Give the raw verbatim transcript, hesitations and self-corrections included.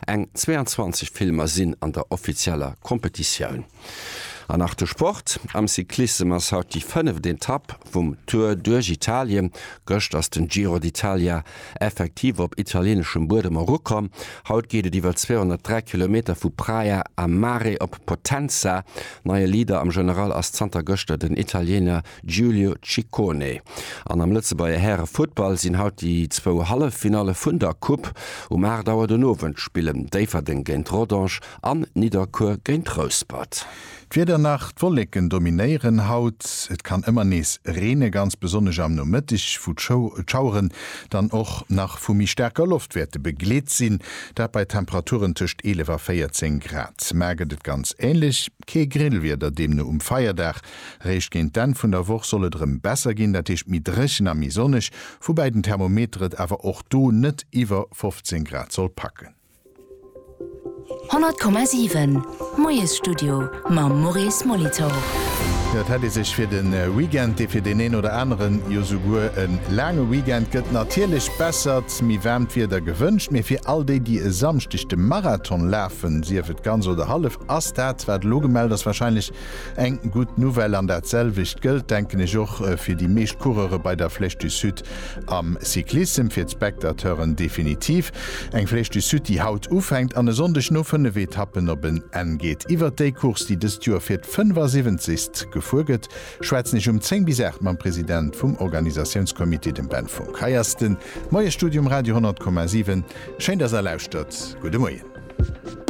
Eng zweeanzwanzeg Filmer sinn an der offizieller Kompetitioun. An nach de Sport, Am Cyclissem ass haut déi fënneft Etapp vum Tour duerch Italien. Gëscht ass den Giro d'Italia effektiv op italieneschem Buedem erukomm. Haut geet et iwwer zweehonnertdräi Kilometer vu Praia a Mare op Potenza. Neie Leader am General ass zanter gëschter den Italiener Giulio Ciccone. An am Lëtzebuerger Häre-Futtball sinn haut déi zwou Halleffinalle vun der Coupe. Um aacht Auer den Owend spillen Déifferdeng géint Rodange an Nidderkuer géint Rouspert. D'Wieder nach, D'Wolleken dominéieren haut, et kann ëmmer nees reene, ganz besonnesch am Nomëtteg, wou d'Schaueren dann och nach vu méi staarker Loft wäerte begleet sinn, dat bei Temperaturen tëscht eelef a véierzéng Grad. Mar gëtt et ganz änlech, kee Grillwieder deemno um Feierdag. Réischt géint d'Enn vun der Woch soll et erëm besser ginn, dat heescht méi dréchen a méi sonneg, woubäi den Thermometer et awer och do net iwwer fofzéng Grad soll packen. Honnert Komma siwen, Moiesstudio mam Maurice Molitor. Jo, et hätt ee sech fir de Weekend, dee fir deen een oder aneren jo souguer e laange Weekend gëtt, natierlech bessert, méi waarmt Wieder gewënscht. Mee fir all déi, déi e Samschdeg de Marathon lafen, sief et ganz oder hallef, ass dat, wat elo gemellt ass, warscheinlech eng gutt Nouvelle. An dat selwecht gëllt, denken ech, och fir déi meescht Coureure bei der Flèche du Sud am Cyclissem, fir d'Spectateuren definitiv. Eng Flèche du Sud, déi haut ufänkt an e Sonndeg no fënnef Etappen op en Enn geet. Iwwert déi Course, déi dëst Joer fir d'fënnfasiwwenzegst gefuer gëtt, schwätzen ech um zéng bis aacht mam President vum Organisatiounscomité, dem Ben Funck. Hei ass de Moiesstudio um Radio honnert Komma siwen. Schéin, dass Der lauschtert. Gudde Moien.